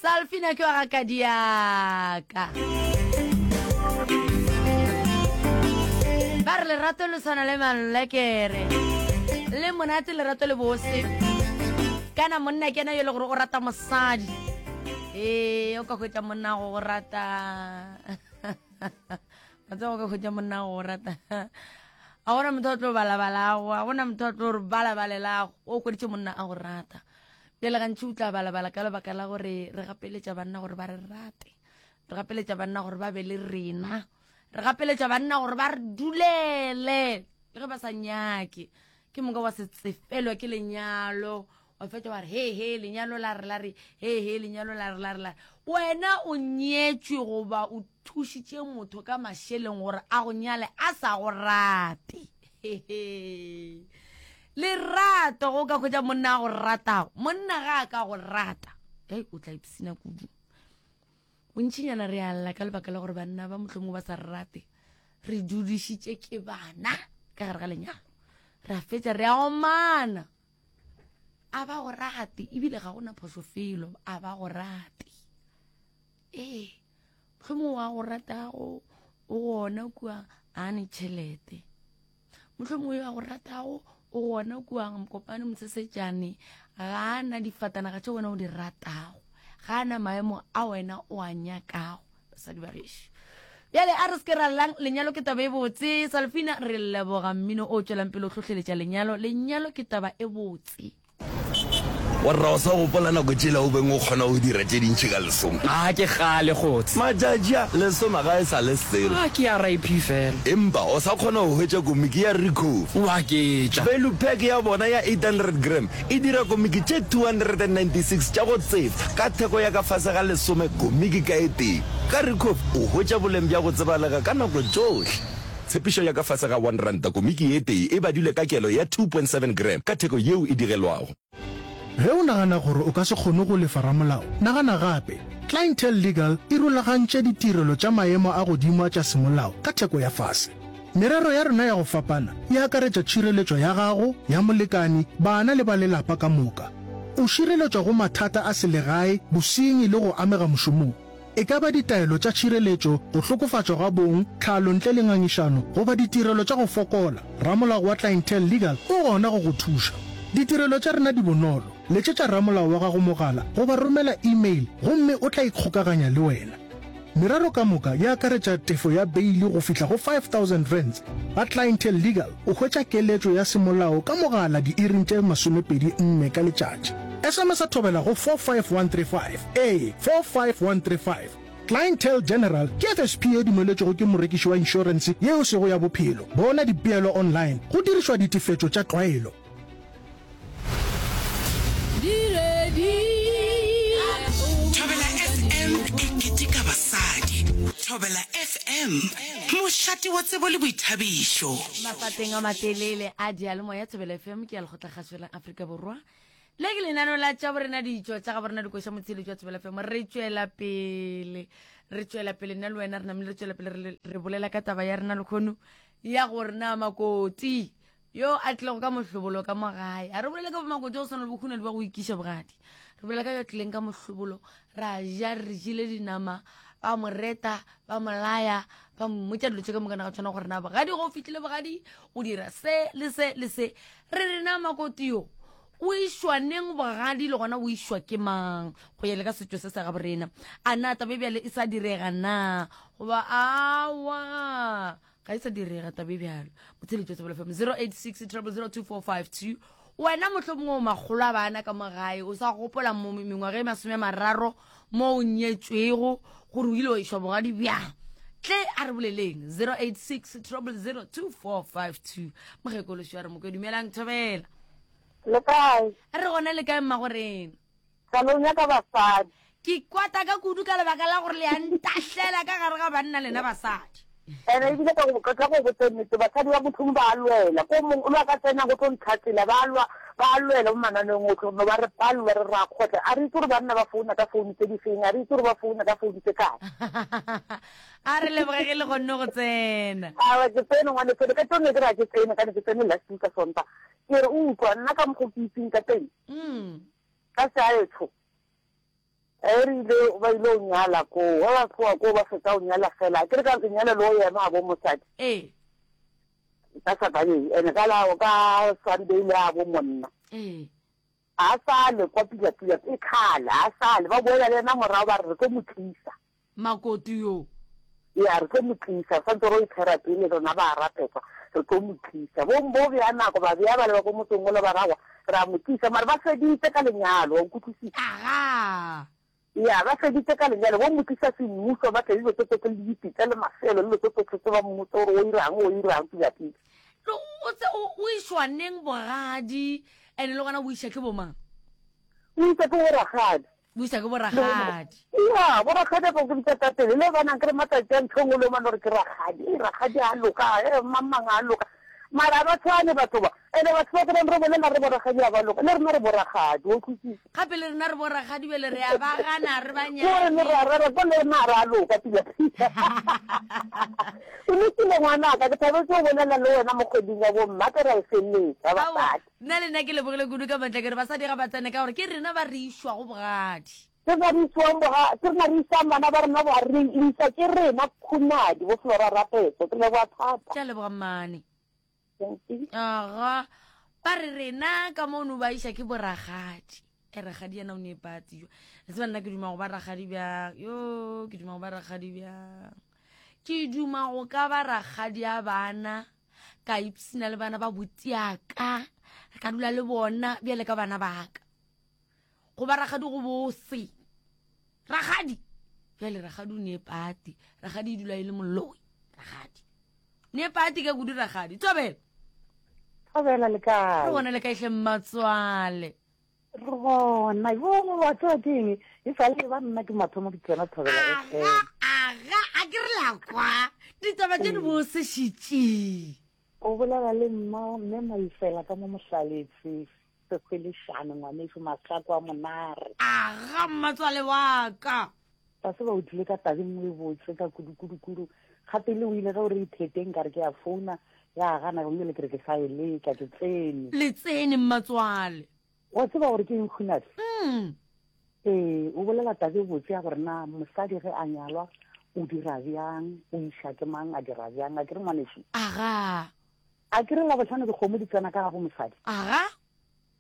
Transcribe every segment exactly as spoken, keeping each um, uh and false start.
Salfina ke wa ga Kadiaka. Ba re lerato le tshwana le malekere. Le monate lerato le bose. Kana monna ke ena yo e le gore o rata mosadi. Ee, o ka hwetša monna go go rata. Wa tseba o ka hwetša monna go go rata. A gona motho a tlo balabalago, a gona motho a tlo re balabalelago. O hweditše monna a go rata. Bjale gantši o tla balabala ka lebaka la gore re gapeletša banna gore ba re rate. Re gapeletša banna gore ba be le rena. Re gapeletša banna gore ba re dulele le ge ba sa nyake. Ke moka wa se tsefelwa ke lenyalo. Wa fetša wa re he he lenyalo la re la re he he lenyalo la re la re la re. Wena o nyetšwe goba o thušitše motho ka mašeleng gore a go nyale a sa go rate. Hehe. Lerato go ka hwetša monna a go ratago. Monna ga a ka go rata, hei o tla ipsina kudu. Bontšinyana re a lla ka lebaka la gore banna ba mohlomongwe ba sa re rate. Re dudišitše ke bana ka gare ga lenyalo. Re a fetša re a omana. A ba go rate ebile ga gona phošo felo, a ba go rate. Ee, mohlomongwe wa go ratago o gona kua a ne tšhelete. Mohlomongwe yo a go ratago o gona kua Mokopane Mosesetšane ga a na difatanaga tše wena o di ratago, ga a na maemo a wena o a nyakago. Basadi ba gešo, bjale a re se ke ra llang, lenyalo ke taba e botse. Salfina, re leboga mmino o tšwelang pele o hlohleletša lenyalo. Lenyalo ke taba e botse. Warra o sa gopola nako tšela o beng o kgona go dira tše dintši ka lesome? A ke kgale kgotse. Matšatši a, lesome ga e sa le selo. A ke R I P fela. Empa o sa kgona go hwetša komiki ya Ricoff. O a ketša. Value pack ya bona ya eight hundred gram e dira komiki tše two hundred and ninety six tša go tsefa ka theko ya ka fase ga lesome komiki ka e tee. Ka Ricoff o hwetša boleng bja go tsebalega ka nako tšohle. Tshepišo ya ka fase ga one ranta komiki e tee e badilwe ka kelo ya two point seven gram ka theko yeo e digelwago. Ge o nagana gore o ka se kgone go lefa ramolao, nagana gape. Clientele Legal e rulagantše ditirelo tša maemo a godimo a tša semolao ka theko ya fase. Merero ya rena ya go fapana e akaretša tšhireletšo ya gago, ya molekani, bana le ba lelapa ka moka. O šireletšwa go mathata a selegae, bosenyi le go amega mošomong. E ka ba ditaelo tša tšhireletšo, go hlokofatšwa ga bong, tlhalo ntle le ngangišano, goba ditirelo tša go fokola, ramolao wa Clientele Legal o gona go go thuša. Ditirelo tša rena di bonolo. Letšetša ramolao wa gago mogala goba romela e-mail gomme o tla ikgokaganya le wena. Merero ka moka e akaretša tefo ya beili go fihla go five thousand rands. Ga Clientele Legal o hwetša keletšo ya semolao ka mogala diiring tše masomepedi nne ka letšatši. S M S a thobela go four five one three five, ee, four five one three five. Clientele General ke F S P e dumeletšwego ke morekiši wa inšorense ye e sego ya bophelo. Bona dipeelo online go dirišwa ditefetšo tša tlwaelo. Thobela F M e keteka basadi. Thobela F M, mošate wa tsebo le boithabišo. Mafateng a matelele a diyalemoya, Thobela F M ke ya Lekgotlakgašo la Afrika Borwa. Le ke lenaneo la tša borena ditšo tša ga borena dikoša motsheletšo wa Thobela F M. Re tšwela pele, re tšwela pele nna le wena re namile re tšwela pele re, re bolela ka taba ya rena lekgono ya gore na makoti yo a tlilego ka mohlobolo ka mo gae. A re bolele ka bomakoti go swana le bokhunadi ba go ikiša bogadi. Re bolela ka yo a tlileng ka mohlobolo, ra ja re jele dinama, ba mo reta, ba mo laya, ba mmotša dilo tše ka moka na ga tshwana gore na bogadi go fihlile bogadi o dira se le se le se. Re re na makoti yo o išwa neng bogadi le gona o išwa ke mang go ya le ka setšo se sa ga borena. A na taba e bjale e sa direga na goba awa ga e sa direga taba e bjalo. Motsheletšo Thobela F M zero eight six triple zero two four five two. Wena mohlomongwe o makgolo a bana ka mo gae, o sa gopola mo mengwaga e masome a mararo mo o nyetšwego gore o ile wa išwa bogadi bjang. Tle a re boleleng zero eight six triple zero two four five two. Mokgekološo a re mokwe, dumelang Thobela. Le kae? Re gona le kae mmagorena? Salong ya ka basadi. Ke kwata ka kudu ka lebaka la gore le a ntahlela ka gare ga banna lena basadi. Ene ebile ka go, ka tla go botsa nnete, basadi ba mohlomong ba a lwela. Ko mong o lo a ka tsena go tlo ntlhatsela, ba a lwa, ba a lwela mo mananeong otlhe, no ba re palelwa, re ra kgotla. A re itse gore banna ba founa ka founu tse di feng, a re itse gore ba founa ka founu tse kae. A re leboge ge le kgonne go tsena. Aowa, ke tsene ngwaneso, le ka tšone ke re ga ke tsene, ka ne ke tsene last week ka Sontaga. Ke re, utlwa, nna ka mokgo ke itseng ka teng, Mm. ka seaetsho, E re ile ba ile o nyala koo, ge ba tloga koo ba fetsa o nyala fela, a ke re ka lenyalo le o ema bo mosadi. Ee. Ka Saturday, ene ka la ka Sunday le a bo monna. Ee. A sa le kwa pila pila e kgale, a sa le ba boela le yena morago ba re re tlo mo tlisa. Makoti yo. Ya re tlo mo tlisa, re santse re o iphera pele rena ba rapetsa, re tlo mo tlisa. Bo bo bea nako ba bea ba le ba ko motseng ola ba rawa, re a mo tlisa mara ba feditse ka lenyalo, wa nkutlwisisa. Aga. Ya ba feditse ka lenyalo, bo mo tlisa semmuso ba tle dilo tse tsotlhe le dipitsa le mafelo le dilo tse tsotlhe tse ba mmotsa gore o irang o irang pila pila. Lo o tse o o išwa neng bogadi ene le gona o iša ke bomang? O isa ke boragadi. O iša ke boragadi. Ya boragadi ba go bitsa ka pele le bana ke re matsatsi a ntho e nngwe le mane gore ke ragadi, e ragadi a loka, e mang mang a loka. Mara ba tshwane batho ba. Ene batho ba ke re bolela re boragadi a ba loka, le rena re boragadi, o utlwisisa. Gape le rena re boragadi bjale re a ba gana re ba Ko re nyake. re re re ko le rena re a loka pila pila. O lokile ngwanaka, ke thabetse go bolela le wena mo kgweding ya bomma ke ra e feleletsa Aowa, basadi. nna le nna ke lebogile kudu ka matla ke re basadi ga ba tsene ka gore ke rena ba re išwago bogadi. Ke rena re isiwang boga, ke rena re isang bana ba rena boga, re isa ke rena khunadi bo Flora Rapetso, ke leboga thata. Ke a leboga mmane. Thank you. Aga, ba re rena ka mono ba iša ke boragadi. E ragadi yena o ne patsi jo. Le tseba nna ke duma go ba ragadi bjang. Yo, ke duma go ba ragadi bjang. Ke duma go ka ba ragadi a bana, ka ipsina le bana ba botiaka, ka dula le bona bjale ka bana baka. Go ba ragadi go bose. Ragadi. Bjale ragadi o ne pati. Ragadi e dula e le moloi. Ragadi. Ne pati ka kudu ragadi. Thobela. Thobela le kae? Re gona le kae hle mmatswale? Re gona. Yo wa tseba ke eng? E sa le ba nna ke mathomo ke tsena Thobela F M. Aga, aga, a ke re la kwa. Ditaba tše di bose šitši. O bolela le mma, mme Maifela ka mo Mohlaletse, Sekgwelešane, ngwanešu Mahlako a Monare. Aga, mmatswale wa ka. Ba se ba o tlile ka tabeng nngwe e botse ka kudu, kudu, kudu. Gape le o ile ge o re itheteng ka re ke a founa, ya gana, o ile ke re ke sa e leka, ke tsene. Le tsene mmatswale. Wa tseba gore ke eng Khunadi? Mm. Ee, o bolela tabe botse ya gore na mosadi ge a nyalwa o dira bjang, o iša ke mang a dira bjang, a ke re ngwanešu? Aga. A ke re Labohlano dikgomo di tsena ka ga bo mosadi? Aga.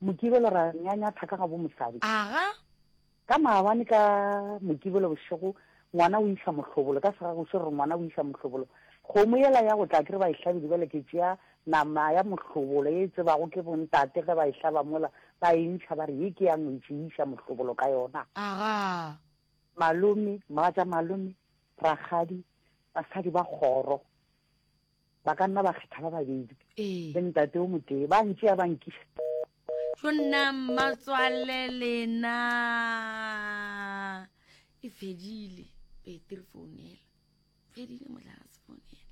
Mokibelo ra nyanyatha ka ga bo mosadi. Aga. Ka maabane ka Mokibelo bošego ngwana o iša mohlobolo, ka segagoši re ngwana o iša mohlobolo. Kgomo yela ya go tla ke re ba e hlabile, bjale ke tšea nama ya mohlobolo e tsebago ke bontate ge ba e hlaba mola, ba e ntšha ba re ye ke ya ngwetši, e iša mohlobolo ka yona. Aga. Malome, mogatša malome, rakgadi, basadi ba kgoro ba ka nna ba kgetha ba babedi. Ee. Le ntate o motee, ba ntšea ba nkiša. Tšo nna mmatswale lena. E fedile petri founela. Fedile motlakase founela.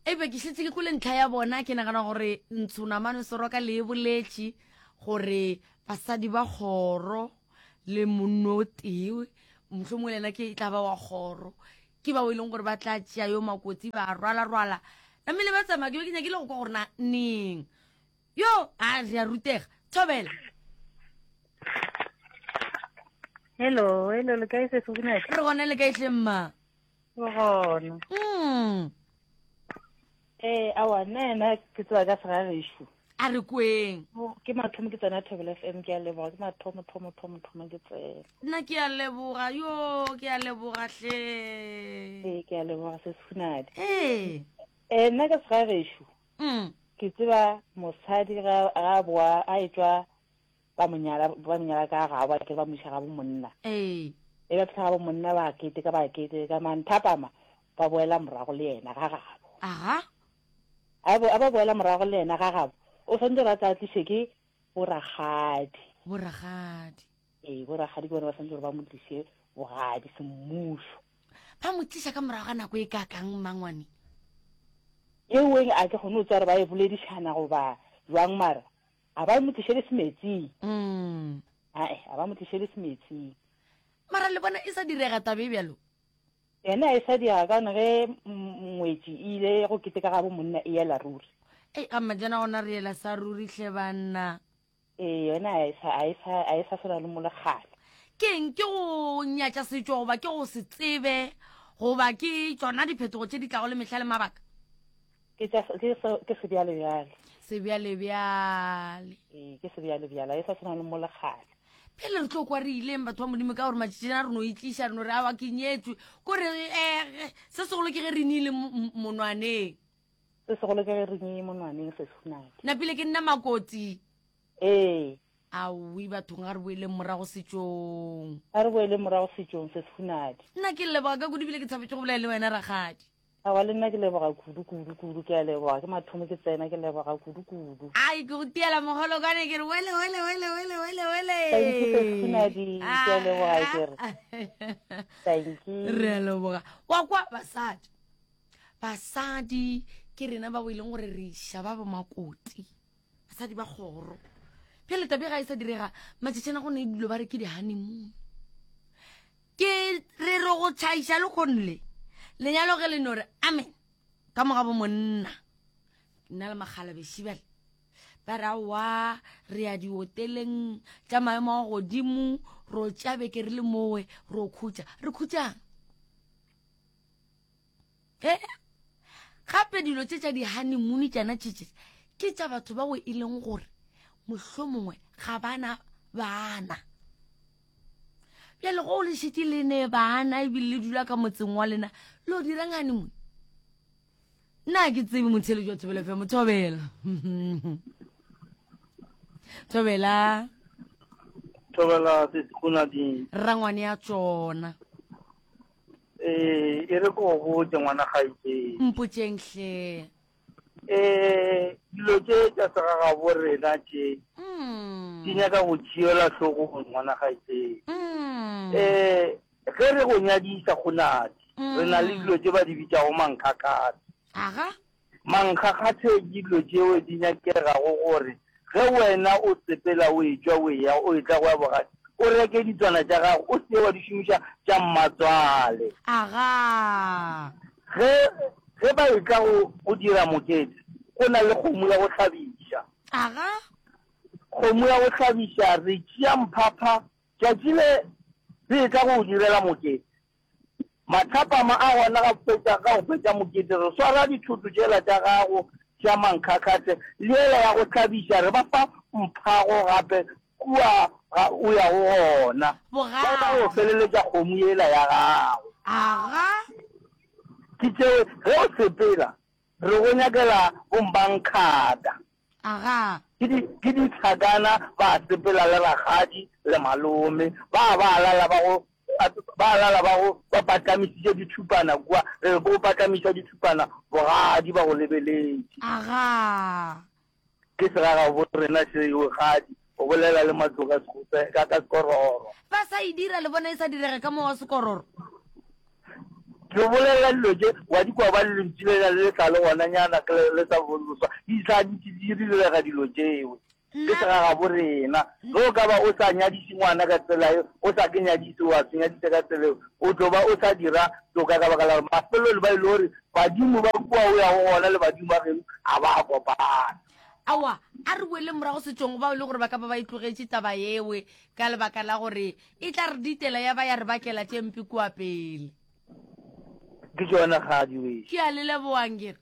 Ebe ke šetše ke kwele ntlha ya bona, ke nagana gore Ntshonamane Soroka le e boletše gore basadi ba kgoro le monno o tee, mohlomongwe le yena ke e tla ba wa kgoro, ke bao e leng gore ba tla tšea yo makotsi ba rwala-rwala. Namile ba tsamaya, ke be ke nyakile go kwa gore na neng. Yo, a re a rutega. Thobela. Hello, hello, le kae sesi Khunadi? Re gona le kae hle mma? Re gona. Mm. Eh, awa, nna yena ke tseba ka segagešo. A re kweng. Ke mathomo ke tsena Thobela F M, ke a leboga, ke mathomo, thomo, thomo, thomo ke tsena. Nna ke a leboga, yo, ke a leboga hle. Ee, ke a leboga sesi Khunadi. Ee. Eh, nna ka segagešo. Mm. Ke tseba mosadi ga, ga boa, a etšwa ba mo nyala, ba mo nyala ka gabo, ke ba mo iša ga bo monna. Ee. E ba fihla ga bo monna ba keteka, ba keteka, manthapama ba boela morago le yena ga gabo. Aha. A bo, a ba boela morago le yena ga gabo, o swanetše gore a tla tliše ke boragadi. Boragadi. Ee, boragadi ke bona ba swanetše gore ba mo tliše bogadi semmušo. Ba mo tliša ka morago ga nako e kakang mmangwane? Eo a ke kgone go tseba gore ba e boledišana goba jwang, mara a ba mo tliše le semetsing. Mm. Ae, a ba mo tliše le semetsing. Mara le bona e sa direga taba e bjalo? Yena e sa direga ka gobane ge ngwetši e ile go keteka ga bo monna e ela ruri. Ei, ga mmajana gona re ela sa ruri hle banna. Ee, yona a e sa, a e sa, a e sa swana le molekgale. Ke eng? Ke go nyatša setšo goba ke go se tsebe goba ke tšona diphetogo tše di tlago le mehla le mabaka? Ke tša, ke se, ke sebjalebjale. Sebjalebjale. Ee, ke sebjalebjale, ga e sa tshwana le mo le kgale. Pele re tlo kwa re ileng batho ba Modimo ka gore matšatšing a re no itliša re no re awa ke nyetšwe. Kore eh, se segolo ke ge re nile monwaneng. Se segolo ke ge re nile monwaneng se sehunadi. Napile ke nna makoti. Ee. Aowi bathong ga re boeleng morago setšong. Ga re boeleng morago setšong se sehunadi. Nna ke leboga ka kudu ebile ke thabetše go bolela le wena rakgadi. Aowa le nna ke leboga kudu kudu kudu ke a leboga ke mathomo ke tsena ke leboga kudu kudu. Ai ke go tiela mogolo kwane ke re wele wele wele wele wele wele. Thank you Sehunadi ke a leboga ke re. Thank you. Re a leboga. Wa kwa basadi. Basadi ke rena ba bo e leng gore re iša ba bo makoti. Basadi ba kgoro. Bjale tabe ga e sa direga matšatšana go ne dilo ba re ke di-honeymoon. Ke re re go tšhaiša le kgonle. Lenyalo ge le no re amen ka moga bo monna. Nna le makgalabeši bjale. Ba re aowa re ya dioteleng tša maemo a godimo ro tša beke re le mowe ro khutša. Re khutšang? Eh, gape dilo tše tša di-honeymoon tšana tše tše ke tša batho ba go e leng gore mohlomongwe ga bana bana. Bjale go le šetše le ne bana ebile le dula ka motseng wa lena lo dirang honeymoon? Nna ke tsebe motheletši wa Thobela F M, Thobela. Thobela. Thobela Sesehunadi. Rangwane ya tšona. Eh, e re ko botse ngwana gaetšeng. Mpotseng hle. Eh, dilo tše tša segagabo rena tše. Mm. Di nyaka go tšeelwa hlogong ngwana gaetšeng. Mm. Eh, ge re go nyadiša Kgonadi, re na le dilo tše ba di bitšago mankgakgathe. Aga? Mankgakgathe ke dilo tšeo di nyakegago gore ge wena o sepela o etšwa o eya o etla go ya bogadi, o reke ditswana tša gago, o se wa di šomiša tša mmatswale. Aga. Ge, ge ba etla go, go dira mokete, go na le kgomo ya go hlabiša. Aga. Kgomo ya go hlabiša, re tšea mphapha tšatši le re etla go o direla mokete. Mathapama a gona ga fetša, ga go fetša mokete, re swara dithoto tšela tša gago tša mankgakgathe le yela ya go hlabiša, re ba fa mphago gape kua ga o yago gona. Ba tla go feleletša kgomo yela ya gago. Aga. Ke tšeo ge o sepela re go nyakela bombankgata. Aga. Ke di, ke ditlhakana ba sepela le rakgadi le malome, ba ba lala ba go, ba lala ba go ba patlamišitše dithupana kua, re re go patlamiša dithupana bogadi ba go lebeletše. Aga. Ke segagabo rena seo gadi, o bolela le matloga sekope ka ka sekororo. Ba sa e dira le bona e sa direge ka mo wa sekororo. Ke bolela dilo tše wa di kwa ba le lentšu lena le le tla le gona nyana ke le sa boloswa di tla di di direga dilo tšeo. Ke segagabo rena. Ge o ka ba o sa nyadiše ngwana ka tsela eo, o sa ke nyadiše wa se nyadiše ka tsela eo, o tlo ba o sa dira toka ka baka la gore mafelelo ba ile gore badimo ba kua o yago gona le badimo ba geno ga ba kopana. Aowa, a re boele morago setšong bao e le gore ba ka ba ba itlogetše taba yewe ka lebaka la gore e tla re ditela ya ba ya re bakela tše mpe kua pele. Ke tšona kgadi wešo. Ke a le lebogang ke re.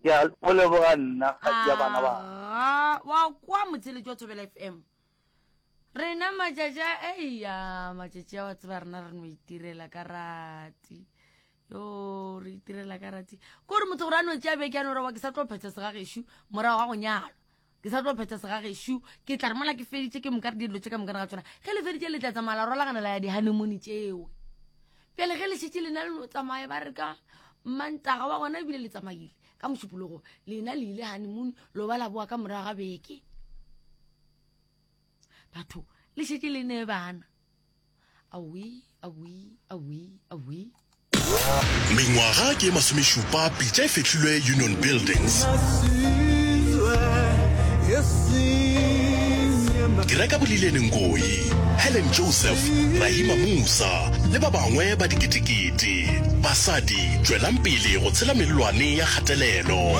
Ke a go leboga nna kgadi ya bana ba. Aga, wa kwa motheletši wa Thobela F M. Rena matšatši a, eya, matšatši a wa tseba rena re no itirela ka rati. Yo, re itirela ka rati. Kore motho gore a no tšea beke a no re wa ke sa tlo phetha segagešo morago ga go nyalwa. Ke sa tlo phetha segagešo, ke tla re mola ke feditše ke moka re dilo tše ka moka ga tsona. Ge le feditše le tla tsamaya la rolagana la ya di-honeymoon tšeo. Bjale ge le šetše lena le no tsamaya ba re ka Mantaga wa gona ebile le tsamaile ka Mošupologo, lena le ile honeymoon lo ba la boa ka morago ga beke. Batho le šetše le ne bana. Awi, awi, awi, awi. Mengwaga ke masomešupa pitša e fehlilwe Union Buildings. Dira ka Bolilene Ngoyi, Helen Joseph, Rahima Moosa le ba bangwe ba diketekete. Basadi, tšwelang pele go tshela mellwane ya kgatelelo.